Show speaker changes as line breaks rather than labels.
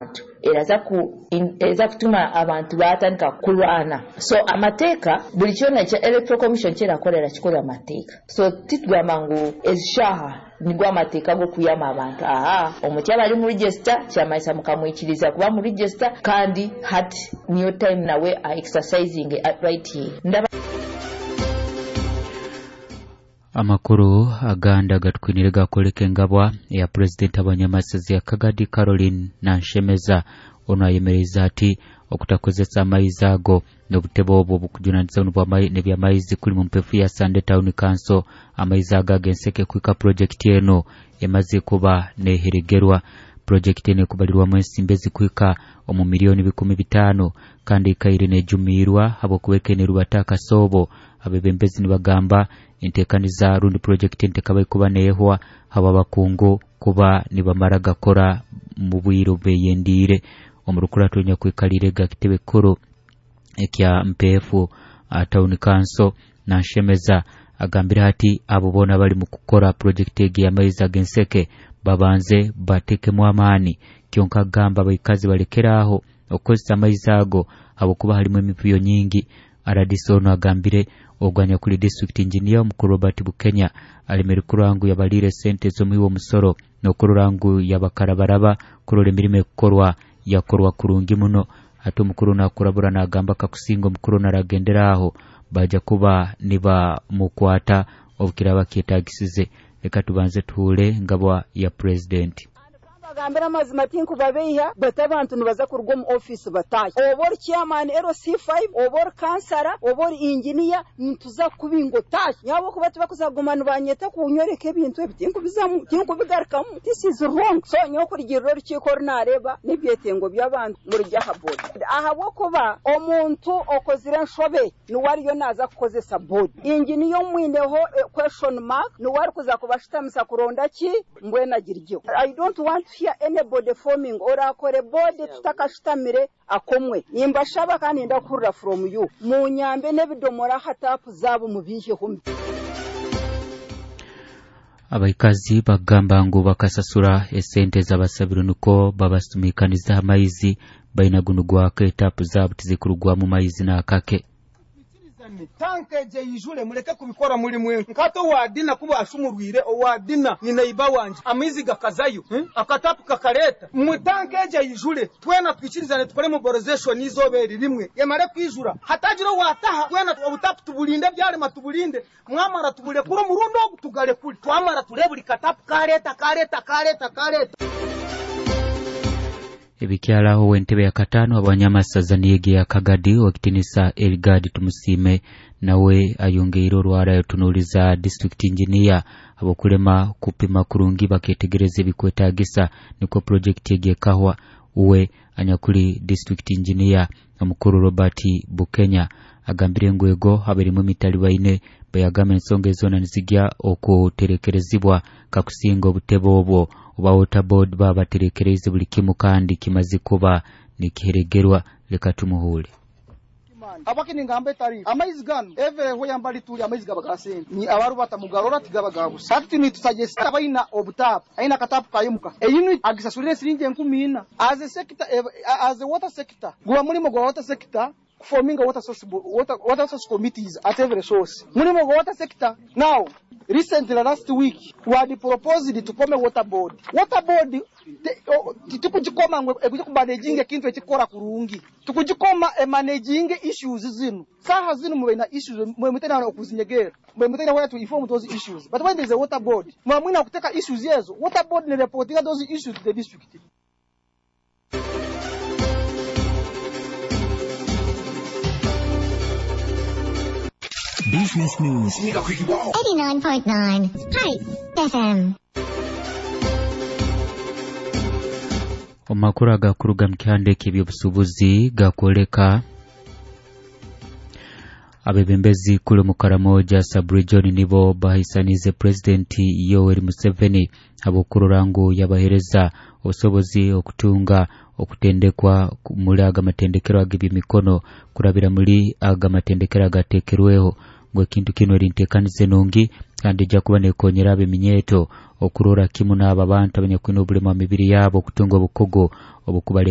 Abantu eraza kutuma abantu batandika kurwana. So amateeka, buli kyona ekya Electoral Commission kyerakorera kikorera amateeka. So titugamba ngu ezishaha nigwo amateeka g'okuyama abantu. Aha omuntu yaba ari mu register, kyamanyisa mukamwikiriza kuba mu register, kandi hati niyo time nawe a exercising right ye. Ndaba.
Amakuru agandi agatukwinire gakoleka engabwa eya Purezidenti abanyamasazi ya Kagadi Caroline Nanshemeza. Ono ayemereza ati okutakozesa amaizi ago n'obutebe obwo obukujunanizibwa n'ebyamaizi kuli mu mpefu ya Sande Town Council. Amaizi ago ag'enseke kwika projekiti eno emaze kuba neheregerwa. Projekiti eno ekubalirwamu ensimbi ezikwika omu miliyoni 500,000 kandi ikaire nejumiirwa habwokuba nerubata akasoobo. Abebembezi nibagamba entekaniza rundi projekiti entekaba ikuba neehwa haba abakungu kuba nibamara gakora mu bwire obubeyendiire. Omu rukurato nyakwikalire ga kitebe kikuru ekya Mpeefu Town Council Nanshemeza agambire ati abo boona bali mu kukora projekiti egi y'amaizi ag'enseke babanze batekemu amaani. Kyonka agamba abaikazi balekeraho okukozesa amaizi ago habwokuba halimu emivuyo nyingi. RDC ono agambire ogwanya kuli district engineer omukuru Robert Bukenya alemere kurora ngu yabalire sente z'omuhi w'omusoro n'okurora ngu yabakarabaraba kurora emirimo ekukorwa yakorwa kurungi muno. Ate omukuru nakurabura nagamba kakusinga omukuru naragendera aho baja kuba nibamukwata obukiraba kyetagisize. Reka tubanze tuhure ngabwa ya president.
Bagambira amazima tinkubabeiha, but abantu nibaza kuruga omu office batahe. Oba ori chairman LC5, oba ori kansara, oba ori engineer, nituza kubinga otahe. Nyabo kuba tibakuzaguma nibanyeta kunyoreka ebintu ebi tinkubizamu, tinkubigarukamu. This is wrong. So nyowe kurugirira orukiiko oru nareeba n'ebyetengo by'abantu murugye aha board. Ahabw'okuba omuntu okozire enshobe niwe ariyo naaza kukozesa board. Engineer omwineho question mark niwe arikuza kubashutamisa kuronda ki mbwenu agiryeho. I don't want to hear anybody forming or akore board tutakashutamire akomwe. Nimbashaba kandi ndakuhurira from you. Munyambe n'ebidomora aha tapu zaabo mubiiheho.
Abaikazi bagamba ngu bakasasura esente z'abasabiro nuko babasumikaniza amaizi baina guno gwaka etapu zaabo tizikurugwamu maizi n'akake.
Tanka eje yijule muleke kubikora muri mwe nkato wadina kuba ashumurwire owadina ni neiba wanje amaizi gakazayo akatapu kakareta mu tanka eje yijule twena twikirizane tukore mobilization izoberi rimwe yamare kwijura hatagira wataha twena obutapu tubulinde byarema tubulinde mwamara tubule kuri murundo tugale kuri twamara tureburi katapu kareta kareta kareta kareta.
Ebikyalaho w'entebe ya katano abanyamasaza niyege ya Kagadi wakitinisa Elgad Tumusime nawe ayongeire orwara yotunuliza district engineer abokulema kupima kurungi baketegereza ebikwetagisa niko project egi ekahwa. Uwe anyakuli district engineer omukuru Robert Bukenya agambire ngu ego aberimu emitali baine bayagamba ensonga ezona nizigya okuterekerezibwa kakusinga obutebe obwo oba water board babaterekereze buli kimu kandi kimaze kuba nikiheregerwa. Leka tumuhule.
Abaki ningamba etari amaizi gano eve ho yambali tuli amaizi gaba gasente ni abaru batamugarora tigaba gabusa hati ni tusuggest abaina obutapu aina katapu kayimuka eyinu agisasulire siringi 14,000 as a sector, as a water sector guba mulimo gwa water sector forming a water source water source committees at every source mulimo gwa water sector. Now recently last week we had proposed to form a water board. Water board tukujikoma ngwe ekujja kumanaging ekintu ekikora kurungi, tukujikoma e managing issues zino saha zino mwe issues mwe mutena okuzinyegera mwe mutena where to inform those issues, but when there is a water board mwe mwina kuteka issues yezo water board ne reporting those issues to the district.
Business News
89.9 Spice FM.
Omakuru agakuruga mu kihandiko eby'obusuubuzi gakwoleka abebembezi kuli mu Karamoja sub-region nibo bahisanize President Yoweri Museveni abukurura ngu yabahereza obusobozi okutunga okutendekwa muri aga matendekero ag'ebyemikono kurabira muri aga matendekero agatekerweho ngu ekintu kino erintekanize nungi kandi ejja kuba nekonyera ab'eminyeeto okurora kimu n'abo abantu abanyakwine obulema mu mibiri yabo okutunga obukugu obukubale.